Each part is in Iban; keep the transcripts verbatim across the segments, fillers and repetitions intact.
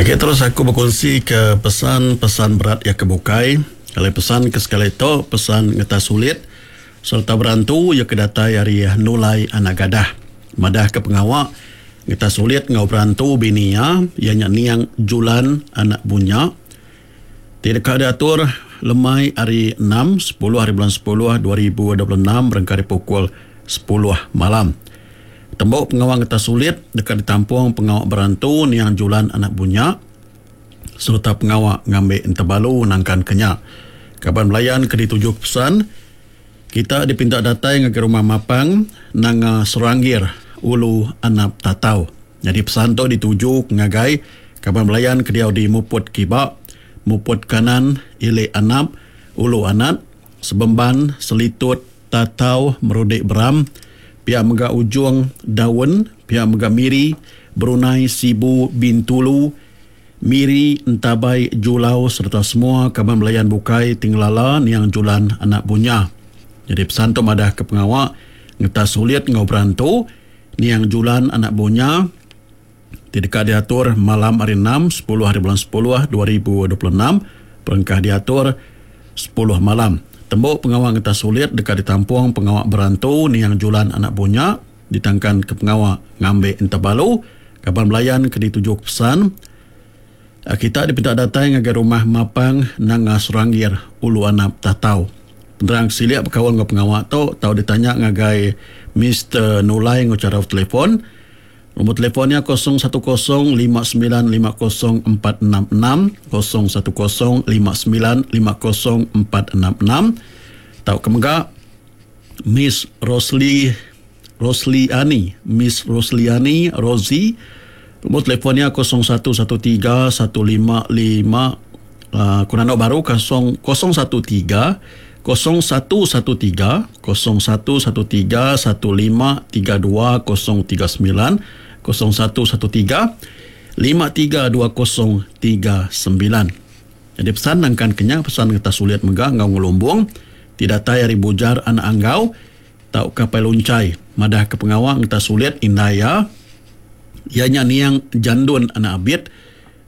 Agi terus aku bekunsi ke pesan-pesan berat iya ke bukai. Alai pesan ke sekali tu pesan ngetas sulit sereta berantu iya ke datai ari Nulai Anak Gadah. Madah ke pengawa ngetas sulit enggau berantu bini iya, iya nya Niang Julan Anak Bunya ti deka diatur lemai hari enam, sepuluh hari bulan sepuluh dua ribu dua puluh enam berengkah ari pukul sepuluh malam. Tembu pengawa ngetas sulit deka ditampung pengawa berantu Niang Julan Anak Bunya sereta pengawa ngambi entebalu nangkan ke nya. Kaban belayan ke dituju pesan kita dipinta datai ngagai rumah Mapang Nanga Seranggir Ulu Anap Tatau. Jadi pesan tu dituju ngagai kaban belayan ke diau di Muput Kiba, Muput Kanan, Ili Anap, Ulu Anat, Sebemban, Selitut, Tatau, Merudik Beram, pia mega Ujung Daun, pia mega Miri, Brunei, Sibu, Bintulu, Miri, Entabai, Julau sereta semua kaban belayan bukai ti ngelala Niang Julan Anak Bunya. Jadi pesan tu madah ke pengawa ngetas sulit enggau berantu Niang Julan Anak Bunya ti deka diatur malam hari enam, sepuluh hari bulan sepuluh dua ribu dua puluh enam, perengkah diatur sepuluh malam. Tembu pengawa ngetas sulit deka ditampung pengawa berantu Niang Julan Anak Bunya ditangkan ke pengawa ngambi entebalu. Kaban belayan ke dituju pesan kita dipinta datai ngagai rumah Mapang Nanga Seranggir Ulu Anap Tatau. Penerang silik bekaul enggau pengawa tu tau ditanya ngagai Mister Nulai enggau chara telefon. Nombor telefonnya kosong satu kosong lima sembilan lima kosong empat enam enam, kosong satu kosong lima sembilan lima kosong empat enam enam. Tau ke mega Miss Rosli Rosliani, Miss Rosliani Rozi. Nombor telefonnya kosong satu satu tiga satu lima lima, uh, kurang baru kosong kosong satu tiga kosong satu satu tiga kosong satu satu tiga satu lima tiga dua kosong tiga sembilan, kosong satu satu tiga lima tiga dua kosong tiga sembilan. Jadi pesan nangkan kenya pesan ngetas sulit mega ngau ngelumbung tidak datai ari Bujar Anak Anggau tau kapai luncai madah ke pengawa ngetas sulit indaya ianya Niang Jandun Anak Abit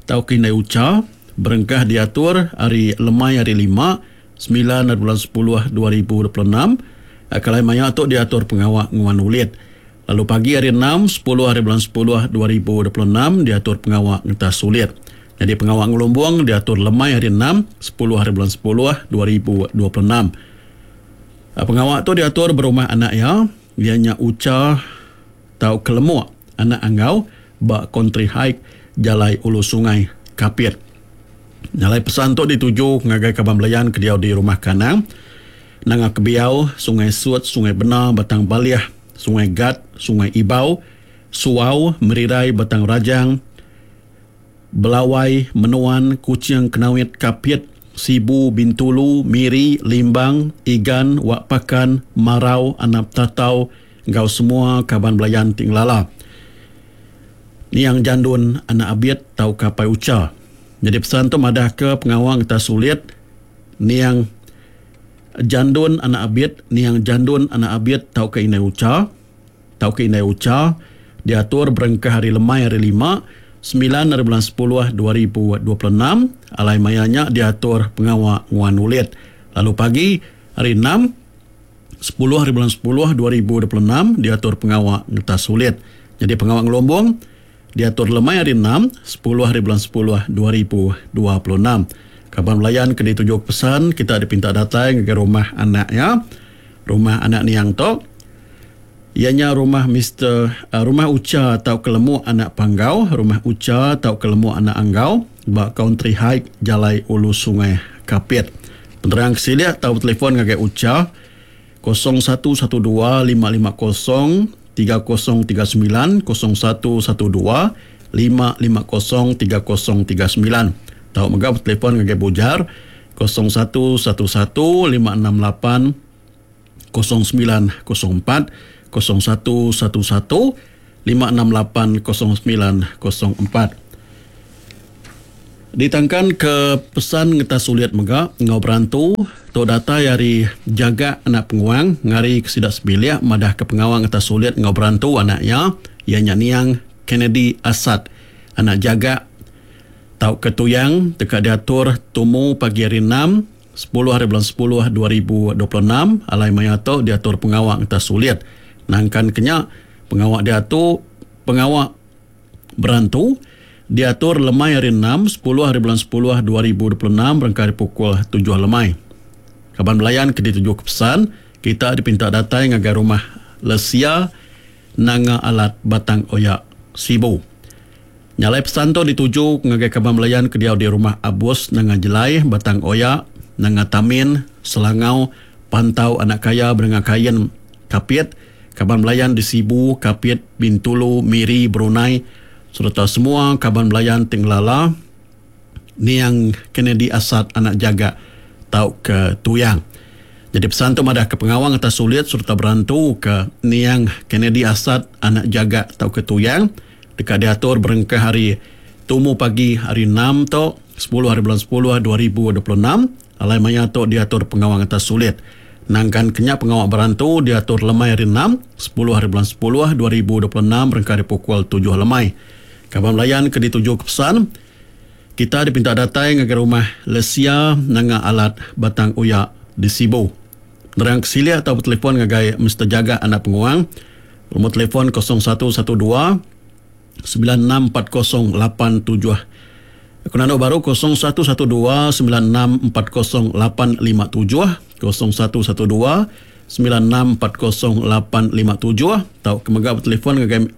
tau ke Indai Ucha berengkah diatur hari lemai hari lima sembilan hari bulan sepuluh dua ribu dua puluh enam. Kalai maya tu diatur pengawa nguan ulit. Lalu pagi hari enam, sepuluh hari bulan sepuluh dua ribu dua puluh enam diatur pengawa ngetas sulit. Jadi pengawa ngelumbung diatur lemai hari enam, sepuluh hari bulan sepuluh dua ribu dua puluh enam. Pengawa tu diatur berumah anak iya, ianya Ucha tau Kelemuk Anak Anggau ba Country Hike Jalai Ulu Sungai Kapit. Nyalai pesan tu dituju ngagai kaban belayan ke diau di Rumah Kanang, Nanga Kebiau, Sungai Sut, Sungai Bena, Batang Balih, Sungai Gat, Sungai Ibau, Suau, Merirai, Batang Rajang, Belawai, Menuan, Kuching, Kenawit, Kapit, Sibu, Bintulu, Miri, Limbang, Igan, Wak Pakan, Marau, Anap Tatau, enggau semua kaban belayan ti ngelala Niang Jandun Anak Abit tau kapai Ucha. Jadi pesan tu madah ke pengawa ngetas sulit Niang Jandun Anak Abit, Niang Jandun Anak Abit tau ke Indai Ucha, tau ke Indai Ucha diatur berengkah hari lemai hari lima, sembilan hari bulan sepuluh dua ribu dua puluh enam. Alai mayanya diatur pengawa nguan ulit. Lalu pagi hari enam, sepuluh hari bulan sepuluh dua ribu dua puluh enam diatur pengawa ngetas sulit. Jadi pengawa ngelombong diatur lemai hari enam, sepuluh hari bulan sepuluh dua ribu dua puluh enam. Kaban belayan ke dituju pesan kita dipinta datai ngagai rumah anak ya. Rumah anak Niang tu ianya rumah Mister uh, rumah Ucha tau Kelemuk Anak Panggau, rumah Ucha tau Kelemuk Anak Anggau ba Country Hike Jalai Ulu Sungai Kapit. Penerang kesilik tau telefon ngagai Ucha kosong satu satu dua lima lima kosong tiga kosong tiga sembilan, kosong satu satu dua lima lima kosong tiga kosong tiga sembilan. Tau mega telefon ngagai Bujar kosong satu satu satu lima enam lapan kosong sembilan kosong empat, kosong satu satu satu lima enam lapan kosong sembilan kosong empat. Ditangkan ke pesan ngetas sulit mega ngau berantu tu datai ari Jaga Anak Penguang ngari ke sidak sebilik madah ke pengawang ngetas sulit ngau berantu anaknya ianya Niang Kennedy Asad anak Jaga tauka Tuyang deka diatur tumu pagi hari enam, sepuluh hari bulan sepuluh dua ribu dua puluh enam alai maya tu diatur pengawa ngetas sulit. Nangkan kenya pengawa diatur pengawa berantu diatur lemai hari enam, sepuluh hari bulan sepuluh dua ribu dua puluh enam berengkah hari pukul tujuh lemai. Kaban belayan ke dituju ke pesan, kita dipinta datai ngagai rumah Lesia Nanga Alat Batang Oya Sibu. Nyalai pesan tu dituju ngagai kaban belayan ke diau di rumah Abus Nanga Jelai Batang Oya Nanga Tamin Selangau Pantau Anak Kaya Bernga Kain Kapit, kaban belayan di Sibu, Kapit, Bintulu, Miri, Brunei serta semua kaban belayan Tinglala Niang Kennedy Asat Anak Jaga tau ke Tuyang. Jadi pesan tu madah ke pengawang atas sulit serta berantu ke Niang Kennedy Asat Anak Jaga tau ke Tuyang dekat diatur berengkah hari tumu pagi hari enam tu sepuluh hari bulan sepuluh dua ribu dua puluh enam alai maya tu diatur pengawang atas sulit. Nangkan kenya pengawang berantu diatur lemai hari enam, sepuluh hari bulan sepuluh dua ribu dua puluh enam berengkah hari pukul tujuh lemai. Kaban belayan ke dituju ke pesan, kita dipinta datai ngagai rumah Lesia Nanga Alat Batang Oya di Sibu. Nerang ke silia atau bertelefon ngagai Mister Jaga Anak Penguang. Nombor telefon kosong satu satu dua sembilan enam empat kosong lapan tujuh. Aku nanda baru kosong satu satu dua sembilan enam empat kosong lapan lima tujuh, kosong satu satu dua sembilan enam empat kosong lapan lima tujuh. Tau kemega bertelefon ngagai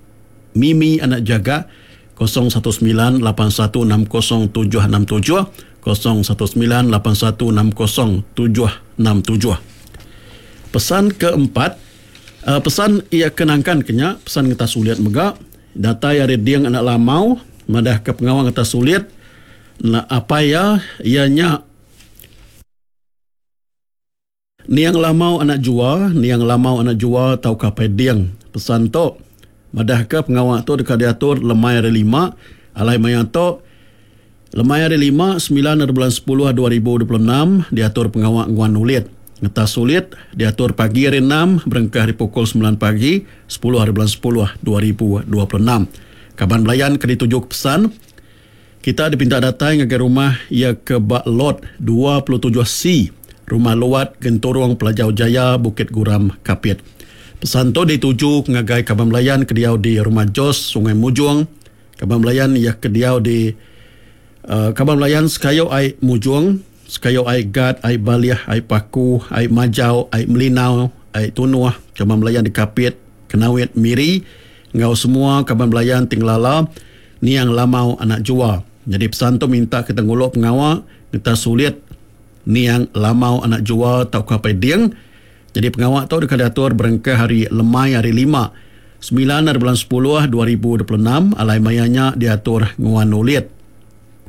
Mimi Anak Jaga kosong satu sembilan lapan satu enam kosong tujuh enam tujuh, kosong satu sembilan lapan satu enam kosong tujuh enam tujuh. Pesan keempat, uh, pesan ia kenangkan kenya, pesan ngetas sulit mega datai ari Ding Anak Lamau madah ke pengawang ngetas sulit na apa ya ianya Niang Lamau Anak Jua, Niang Lamau Anak Jua tau kapai Ding. Pesan tu madah ke pengawang tu dekat diatur lemai hari lima alai maya tu lemai hari lima sembilan hari bulan sepuluh dua ribu dua puluh enam diatur pengawang nguan ulit. Ngetas sulit diatur pagi hari enam berengkah hari pukul sembilan pagi sepuluh hari bulan sepuluh dua ribu dua puluh enam. Kaban belayan ke dituju ke pesan, kita dipinta datai ngagai rumah ia ke bak lot dua puluh tujuh C, Rumah Luat Genturung Pelajau Jaya Bukit Guram Kapit. Pesan tu dituju ngagai kaban belayan ke diau di Rumah Jos Sungai Mujung, kaban belayan ia ke diau di uh, kaban belayan Sekayu Ai Mujung, Sekayu Ai Gad, Ai Baliah, Ai Paku, Ai Majau, Ai Melinau, Ai Tunuh, kaban belayan di Kapit, Kenawit, Miri, ngau semua kaban belayan Tinglala Niang Lamau Anak Jua. Jadi pesan tu minta kita nguluk pengawal kita sulit Niang Lamau Anak Jua tau kapai Ding. Jadi pengawal tu dekat diatur berengkah hari lemai hari lima, sembilan hari bulan sepuluh dua ribu dua puluh enam alai mayanya diatur nguan ulit.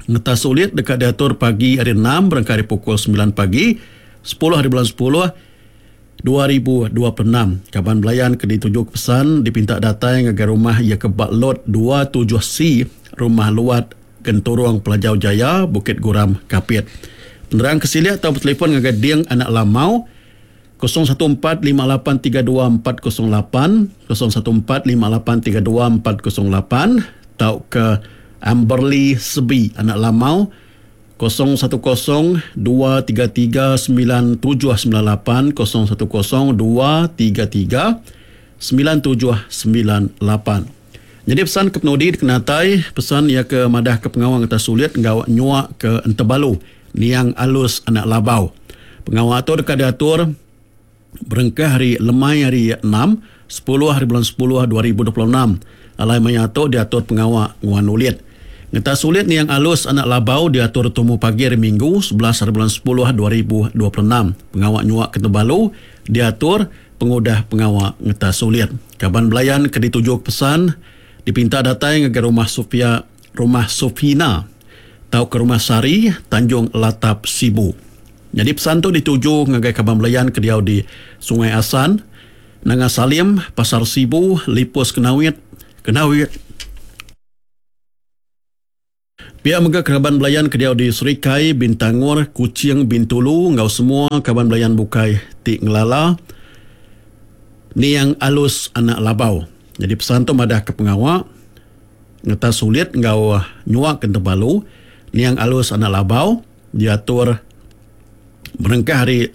Ngetas sulit dekat diatur pagi hari enam berengkah hari pukul sembilan pagi sepuluh hari bulan sepuluh dua ribu dua puluh enam. Kaban belayan ke dituju ke pesan dipinta datai ngagai rumah ia ke bak lot dua puluh tujuh C Rumah Luat Genturung Pelajau Jaya Bukit Guram Kapit. Penerang ke silia atau bertelefon ngagai Ding Anak Lamau kosong satu empat lima lapan tiga dua empat kosong lapan, kosong satu empat lima lapan tiga dua empat kosong lapan tau ke Amberly Sebi Anak Lamau kosong satu kosong dua tiga tiga sembilan tujuh sembilan lapan, kosong satu kosong dua tiga tiga sembilan tujuh sembilan lapan. Jadi pesan ke penudi dikenatai, pesan ia ke madah ke pengawang atas sulit ngau nyuak ke Entebalu Niang Alus Anak Labau. Pengawang tu dekat diatur berengkah hari lemai hari enam, sepuluh hari bulan sepuluh dua ribu dua puluh enam. Alai maya tu diatur pengawak nguan ulit. Ngetas sulit Niang Alus Anak Labau diatur tumu pagi hari Minggu sebelas hari bulan sepuluh dua ribu dua puluh enam. Pengawak nyuak ke Tebalu diatur pengudah pengawak ngetas sulit. Kaban belayan ke dituju pesan dipinta datai ngagai rumah Sofia, rumah Sofina tau ke rumah Sari Tanjung Latap Sibu. Jadi pesan tu dituju ngagai kaban belayan ke diau di Sungai Asan, Nanga Salim, Pasar Sibu, Lipus Kenawit, Kenawit. Pihak mega kaban belayan ke diau di Serikai, Bintangor, Kuching, Bintulu ngau semua kaban belayan bukai ti ngelala Niang Alus Anak Labau. Jadi pesan tu madah ke pengawak ngetas sulit ngau nyuak ke Tebalu Niang Alus Anak Labau diatur berengkah hari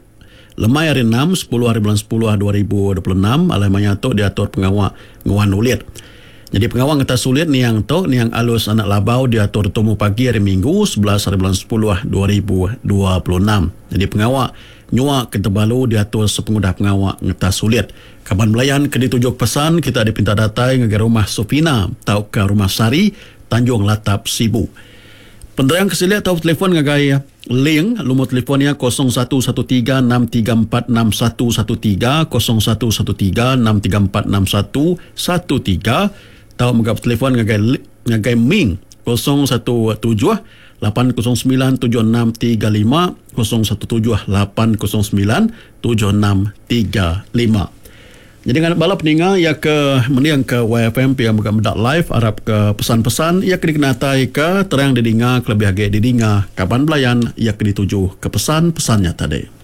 lemai hari enam sepuluh hari bulan sepuluh dua ribu dua puluh enam alai maya tu diatur pengawa nguan ulit. Jadi pengawa ngetas sulit niang tu Niang Alus Anak Labau diatur tumu pagi hari Minggu sebelas hari bulan sepuluh dua ribu dua puluh enam. Jadi pengawa nyua ke tebalu diatur sepengudah pengawa ngetas sulit. Kaban belayan ke ditujuk pesan kita dipinta datai ngagai rumah Sofina tauka rumah Sari Tanjung Latap Sibu. Penerang kesilik atau telefon ngagai link lumur telefonnya kosong satu satu tiga enam tiga empat enam satu satu tiga kosong satu satu tiga enam tiga empat enam satu satu tiga atau mega telefon ngagai ngagai Ming kosong satu tujuh lapan kosong sembilan tujuh enam tiga lima kosong satu tujuh lapan kosong sembilan tujuh enam tiga lima. Jadi dengan bala peninga ya ke mending ke Y F M yang buka medak live arap ke pesan-pesan ya ke dikenatai ke terang didinga kelebih agi didinga kaban belayan ya ke dituju ke pesan-pesannya tadi.